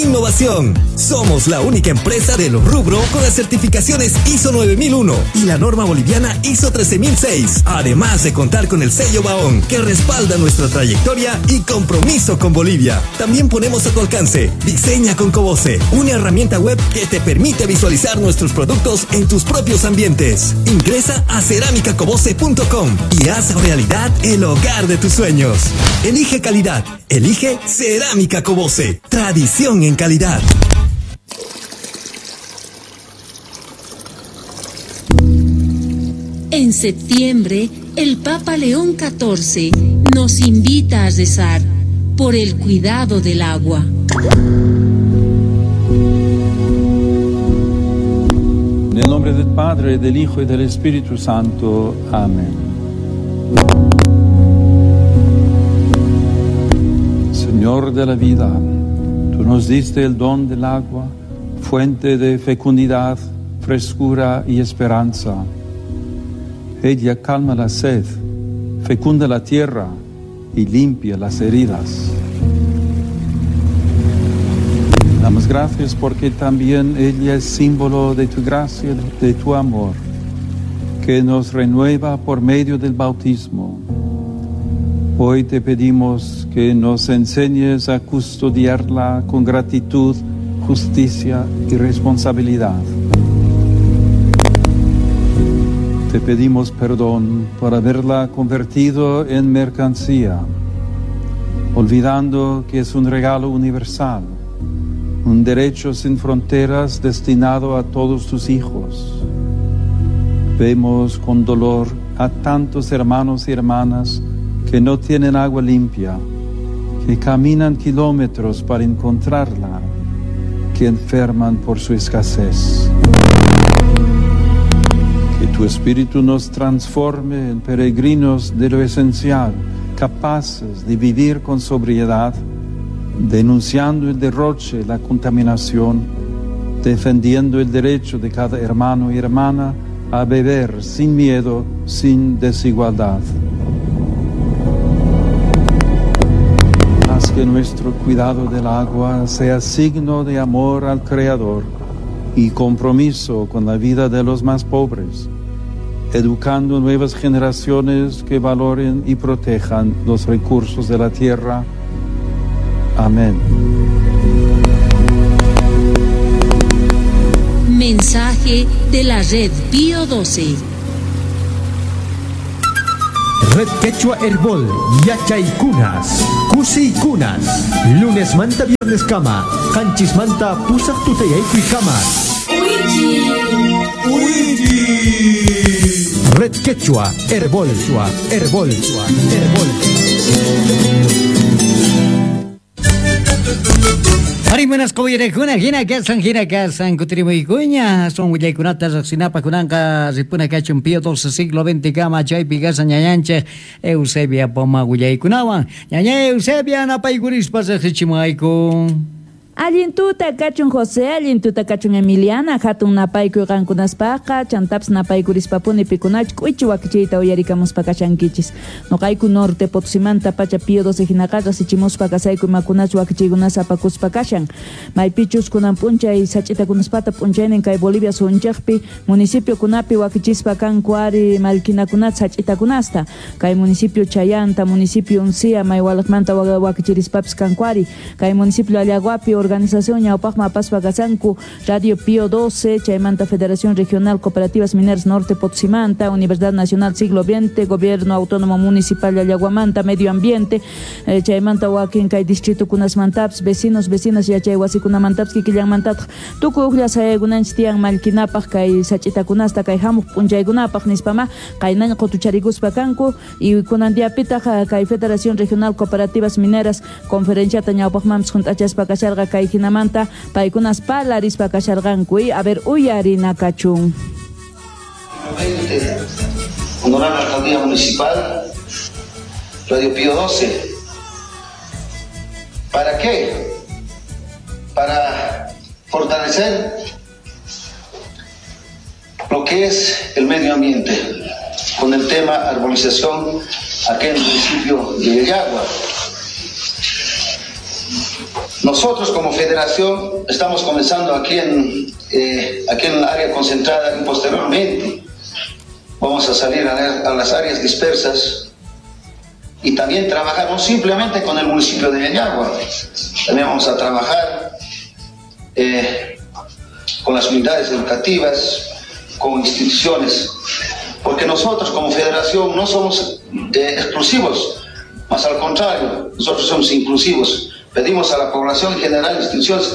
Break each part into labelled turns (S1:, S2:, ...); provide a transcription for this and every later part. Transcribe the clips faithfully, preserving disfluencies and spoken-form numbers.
S1: innovación. Somos la única empresa del rubro con las certificaciones I S O nueve mil uno y la norma boliviana I S O trece mil seis, además de contar con el sello Baón, que respalda nuestra trayectoria y compromiso con Bolivia. También ponemos a tu alcance Diseña con Cobose, una herramienta web que te permite visualizar nuestros productos en tus propios ambientes. Ingresa a cerámica cobose punto com y haz realidad el hogar de tus sueños. Elige calidad. Elige Cerámica Cobose. Tradición en calidad.
S2: En septiembre, el Papa León catorce nos invita a rezar por el cuidado del agua.
S3: En el nombre del Padre, del Hijo y del Espíritu Santo. Amén. Señor de la vida, tú nos diste el don del agua, fuente de fecundidad, frescura y esperanza. Ella calma la sed, fecunda la tierra y limpia las heridas. Damos gracias porque también ella es símbolo de tu gracia, de tu amor, que nos renueva por medio del bautismo. Hoy te pedimos que nos enseñes a custodiarla con gratitud, justicia y responsabilidad. Te pedimos perdón por haberla convertido en mercancía, olvidando que es un regalo universal, un derecho sin fronteras destinado a todos tus hijos. Vemos con dolor a tantos hermanos y hermanas que no tienen agua limpia, que caminan kilómetros para encontrarla, que enferman por su escasez. Que tu Espíritu nos transforme en peregrinos de lo esencial, capaces de vivir con sobriedad, denunciando el derroche, la contaminación, defendiendo el derecho de cada hermano y hermana a beber sin miedo, sin desigualdad. Haz que nuestro cuidado del agua sea signo de amor al Creador y compromiso con la vida de los más pobres, educando nuevas generaciones que valoren y protejan los recursos de la tierra. Amén.
S2: Mensaje de la Red Pío doce.
S4: Red Quechua Herbol, Yachaykunas, Kusikunas, lunes manta viernes kama, kanchis manta pusaq tutayaykuy kama. Red Quechua Herbol, Herbol, Herbol.
S5: Harimunas qoyrekuna hina kasan hina kasan kutirimuykuña son willaykunata riqsinapaq kunanqa ripuna kachun Pío doce siglo veinte kama chaypi kasan ñañanchik Eusebia Poma willaykunawan ñaña Eusebia napaykurispa riqsichimuayku.
S6: Allin tuta kachun José, allin tuta kachun Emiliana, hatun napaykuy qankunaspaqa, chantapas napaykuриspapuni pikunach k'uichi wakichiyta uyarikamuspa kashankichis. Noqayku norte Potosimanta pacha Pío doce hinaqa rasichimuspa kasayku imakunach wakichiykunas apakuspa kashan. Maypichus kunan p'unchay sach'itakunaspata p'unchaynin kay Bolivia sunchaqpi municipiokunapi wakichispa kanku ari mallkinakunata sach'itakunasta. Kay municipio Chayanta, municipio Uncia, Maywalaqmanta wakichirispapis kanku ari. Kay municipio Allaguapi organización ñawpaqman apaspa kasanku Radio Pío doce, chaymanta Federación Regional Cooperativas Mineras Norte Potosimanta, Universidad Nacional Siglo veinte, Gobierno Autónomo Municipal de Allaguamanta, Medio Ambiente, eh, chaymanta wakin kay distrito kunasmantapas, vecinos, vecinas yachay wasikunamantapas, kikillanmantataq tukuy uqlla sayaykunanchik tiyan mallkinapaq kay sach'itakunasta kay hamuq p'unchaykunapaq nispama qaynaña qutucharikuspa kanku y kunan diapitaq kay Federación Regional Cooperativas Mineras conferenciata ñawpaqmanpas hunt'achaspa kasharqa kay hinamanta paykunas parlarispa kasharqanku y a ver uyarina kachun.
S7: Honorable Alcaldía Municipal, Radio Pío doce. ¿Para qué? Para fortalecer lo que es el medio ambiente con el tema arbolización aquí en el municipio de Llallagua. Nosotros como federación estamos comenzando aquí en, eh, aquí en el área concentrada y posteriormente vamos a salir a, a las áreas dispersas y también trabajar no simplemente con el municipio de Llallagua, también vamos a trabajar eh, con las unidades educativas, con instituciones, porque nosotros como federación no somos eh, exclusivos, más al contrario, nosotros somos inclusivos. Pedimos a la población en general, instituciones,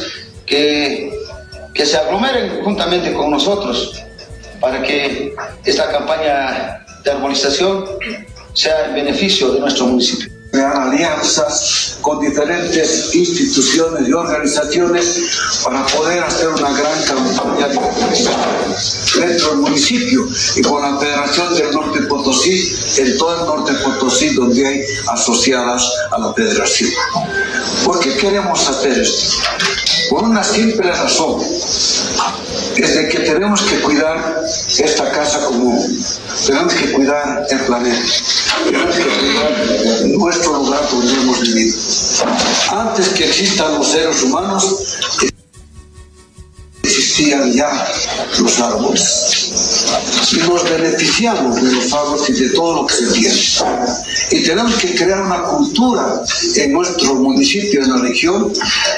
S7: que, que se aglomeren juntamente con nosotros para que esta campaña de arbolización sea en beneficio de nuestro municipio.
S8: Crear alianzas con diferentes instituciones y organizaciones para poder hacer una gran campaña de dentro del municipio y con la Federación del Norte Potosí, en todo el Norte Potosí donde hay asociadas a la federación. ¿Por qué queremos hacer esto? Por una simple razón, es de que tenemos que cuidar esta casa común, tenemos que cuidar el planeta, tenemos que cuidar nuestro lugar donde hemos vivido. Antes que existan los seres humanos, existían ya los árboles. Y nos beneficiamos de los árboles y de todo lo que se tiene. Y tenemos que crear una cultura en nuestro municipio, en la región,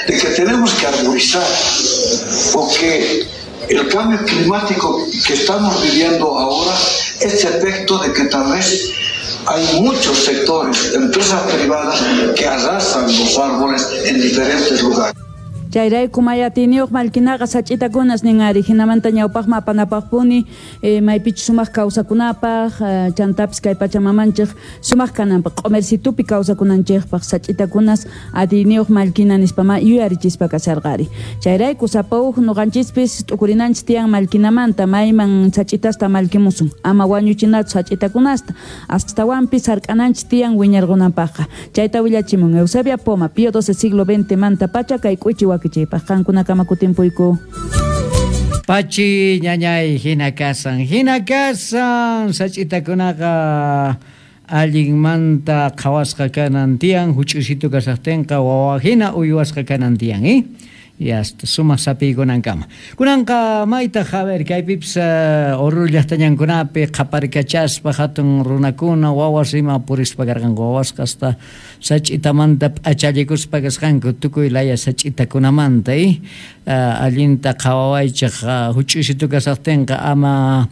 S8: de que tenemos que arborizar, porque el cambio climático que estamos viviendo ahora es efecto de que tal vez hay muchos sectores, empresas privadas que arrasan los árboles en diferentes lugares.
S6: Chayrayku mayatiniyuq mallkinaqa sach'itakunas nin ari hinamanta ñawpaqma apanapaqpuni eh, maypichus sumaq kawsakunapaq eh, chantapis kay pachamamanchik sumaq kananpaq q'umersitupi kawsakunanchikpaq sach'itakunas atiyniyuq mallkina nispama yuyarichispa kasharqari. Chayrayku sapa uj nuqanchispis t'ukurinanchik tiyan mallkinamanta mayman sach'itasta mallkimusun ama wañuchinatsu sach'itakunasta astawanpis hark'ananchik tiyan wiñarqunanpaqqa. Chayta willachimun Eusebia Poma, Pío doce siglo veinte manta pacha kay k'uichi waki qankunakama kutimpuyku.
S5: Pachi ñañay hina kasan, hina kasan sach'itakunaqa allinmanta qhawasqa kanan tiyan, huch'uysitu kasaqtinqa wawa hina uywasqa kanan tiyan, eh? Y hasta sumaq sapiykunankama. Kunanqa maytaq, a ver, kaypipis uh, Oruro llaqtañankunapi qhaparkachaspa hatun runakuna wawas ima purispa karqanku, wawasqa hasta sach'itamanta p'achallikuspa kasqanku tukuy laya sach'itakunamanta, eh? Uh, allinta qhawawaychik uh, huch'uysitu kasaqtinqa ama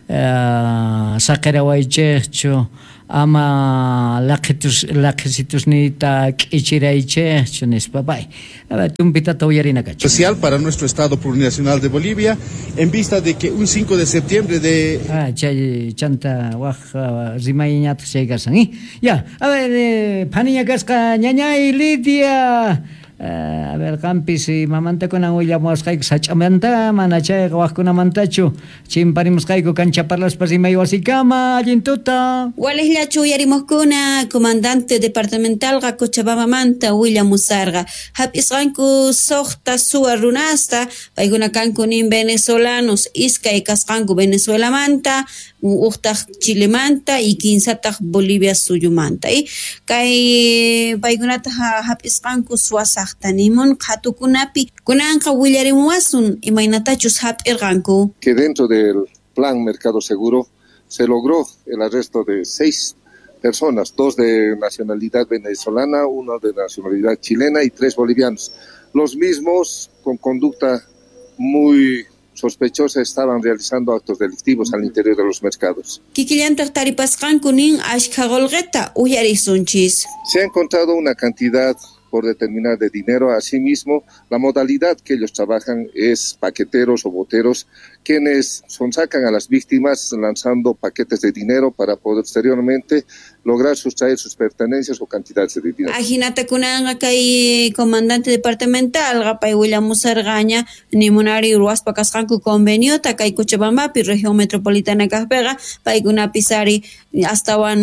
S5: uh, saqirawaychikchu, ama laqitus laqisitusniyta k'ichiraychikchu nispa pay. A ver, tumpitata uyarina kachu.
S9: Especial para nuestro Estado Plurinacional de Bolivia, en vista de que un cinco de septiembre de...
S5: Ah, chay chanta waj uh, rimayñataq chay kasan, eh? Ya, a ver, eh, phaniña kasqa ñañay Lidia. Uh, a ver, qampis mamantakunan willamuwasqayku sach'amanta mana chayqa waqkunamantachu chimparimusqayku kancha parlaspa rimay wasikama allin tuta.
S10: Waliqllachu uyarimuqkuna comandante departamentalqa Cochabambamanta willamusarqa hap'isqanku suqta suwa runasta paykuna kanku nin venezolanos iskay kasqanku Venezuelamanta uqtaq Chilemanta y kinsataq Bolivia suyumanta y kay paykunata hap'isqanku suwasaq nimun qhatukunapi kunanqa willarimuwasun imaynatachus hap'irqanku.
S9: Que dentro del plan Mercado Seguro se logró el arresto de seis personas, dos de nacionalidad venezolana, uno de nacionalidad chilena y tres bolivianos. Los mismos con conducta muy sospechosa estaban realizando actos delictivos al interior de los mercados.
S10: Kikillantaq taripasqanku nin ashkha qullqita uyarisunchis.
S9: Se ha encontrado una cantidad por determinar de dinero. Asimismo, la modalidad que ellos trabajan es paqueteros o boteros, quienes sonsacan a las víctimas lanzando paquetes de dinero para posteriormente lograr sustraer sus pertenencias o cantidades de dinero.
S10: Ajinata kunanqa kay comandante departamental pay willamusarqaña nimunari ruwaspa kasqanku conveniota kay Cochabambapi región metropolitana kaqpiqa paykunapis ari astawan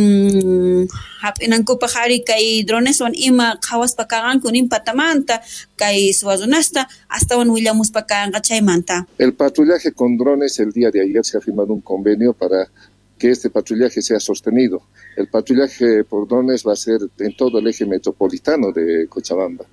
S10: hap'inankupaq ari kay droneswan ima qhawaspa kaqanku nin patamanta kay suwa runasta astawan willamuspa kanqa chaymanta.
S9: El patrullaje con drones, el día de ayer se ha firmado un convenio para que este patrullaje sea sostenido. El patrullaje por drones va a ser en todo el eje metropolitano de Cochabamba,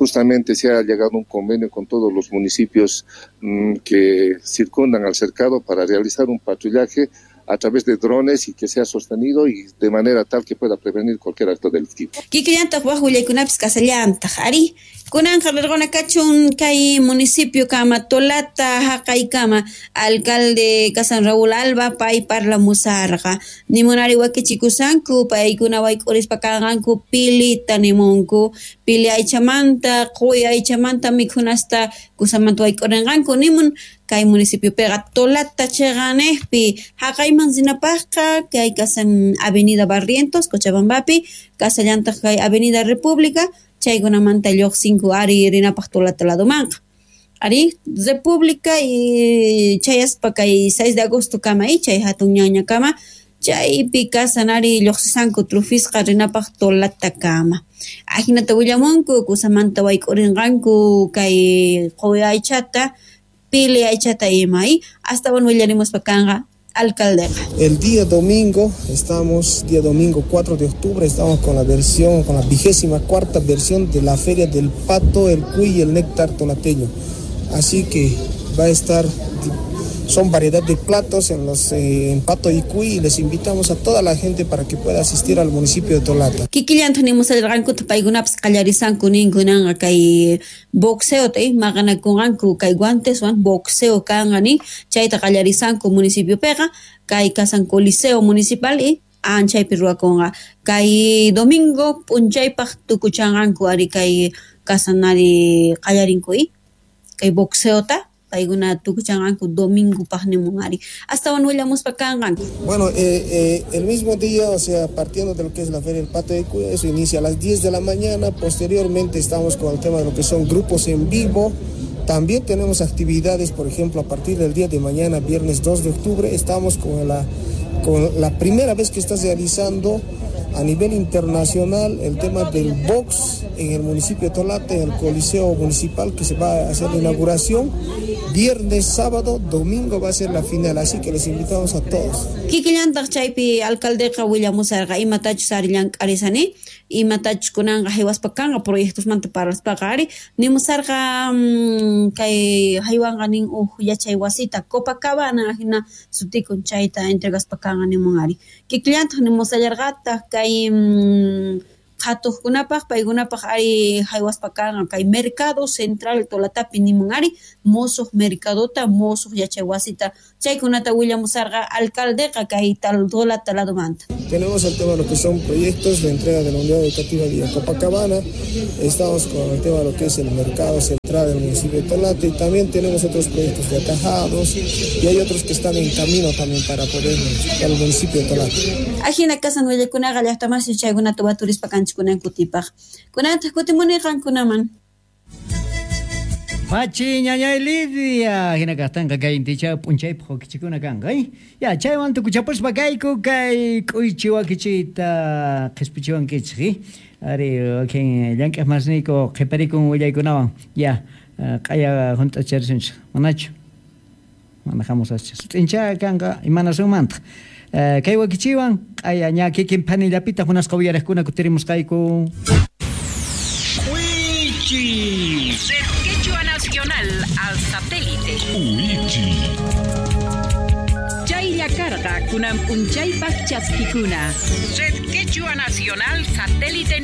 S9: Justamente se ha llegado a un convenio con todos los municipios mmm, que circundan al cercado para realizar un patrullaje a través de drones y que sea sostenido y de manera tal que pueda prevenir cualquier acto delictivo.
S10: Kikillantaq waj willaykunapis kasallantaq ari kunanqa rirquna kachun kay municipio kama Tolata haqaykama alcalde kasan Raúl Alba pay parlamusarqa nimunari wakichikusanku paykuna wayk'urispa kanqanku pilita nimunku pili aychamanta quwi aychamanta mikhunasta kusamanta wayk'urinqanku nimun kay municipiopiqa Tolata chiqanejpi haqayman rinapaqqa kay kasan Avenida Barrientos Cochabambapi kasallantaq kay Avenida República chaykunamanta lluqsinku ari rinapaq Tolata ladomanqa ari República y chayaspa kay seis de agosto kama y chay hatun ñaña kama chaypi kasan ari lluqsisanku trufisqa rinapaq Tolata kama ajinata willamunku kusamanta wayk'urinqanku kay quwi aychata pili aychata ima y astawan willarimuspa kanqa alcaldeqa.
S11: El día domingo estamos, día domingo cuatro de octubre, estamos con la versión, con la vigésima cuarta versión de la Feria del Pato, el Cuy y el Néctar Tolateño. Así que va a estar, son variedad de platos en los eh, en Pato y Cuy, y les invitamos a toda la gente para que pueda asistir al municipio de Tolata.
S10: Kikillanta nimusarqankuta paykunapas qallarisanku ninkunanqa kay boxeo eh, maqanakunqanku kay guanteswan boxeo kanqa nin chayta qallarisanku municipiopiqa kay kasan coliseo municipal y anchaypi ruwakunqa kay domingo p'unchaypaq tukuchanqanku ari kay kasan ari qallarinku y kay boxeota paykuna tukuchanqanku domingo nimun ari astawan willamuspa kanqanku.
S11: Bueno, eh, eh, el mismo día, o sea, partiendo de lo que es la Feria del Pato de Cuy, eso inicia a las diez de la mañana, posteriormente estamos con el tema de lo que son grupos en vivo. También tenemos actividades, por ejemplo, a partir del día de mañana, viernes dos de octubre, estamos con la, con la primera vez que está realizando a nivel internacional el tema del box en el municipio de Tolata, en el Coliseo Municipal, que se va a hacer la inauguración. Viernes, sábado, domingo va a ser la final, así que les invitamos a todos.
S10: Kikillantaq chaypi alcaldeqa willamusarqa imatachus ari llank'arisani, imatachus kunanqa haywaspa kanqa proyectosmanta parlaspaqa ari nimusarqa mmm, kay haywanqa nin uj yachay wasita Copacabana hina sutikun chayta entregaspa kanqa nimun ari. Kikillantaq nimusallarqataq kay mmm, qhatuqkunapaq paykunapaq ari haywaspa kanqa kay mercado central Tolatapi nimun ari musuq mercadota musuq yachay wasita chaykunata willamusarqa alcaldeqa kay tal Tolata ladomanta.
S11: Tenemos el tema de lo que son proyectos de entrega de la unidad educativa Villa Copacabana, estamos con el tema de lo que es el mercado central del municipio de Tolata y también tenemos otros proyectos de atajados y hay otros que están en camino también para poder para el municipio de Tolata.
S10: Ajina kasan willakunaqa llaqtamasi chaykunata waturispa kanchik kunan kutipaq. Kunantaq kutimuni qankunaman.
S5: Pachi ñañay Lidia, hina kaqtanqa kay inticha p'unchaypaq wakichikuna kanqa, eh? Ya, chaywan tukuchapuspa kayku kay k'uychi wakichiyta qhispichiwankichik, eh? Ari, wakin llank'aq masniyku qhiparikun willaykunawan, ya, q'aya hunt'acharisunchik, manachu? Mana hamusascha. Sut'incha kanqa imanasunmantaq. Kay wakichiwan q'aya ña kikin phanillapitaq munasqa uyariqkuna kutirimusqayku.
S12: K'uychi. Quechua Nacional al satélite.
S13: Uichi.
S12: Chaylla karqa kunan p'unchaypaq chaskikuna. Red Quechua Nacional satélite.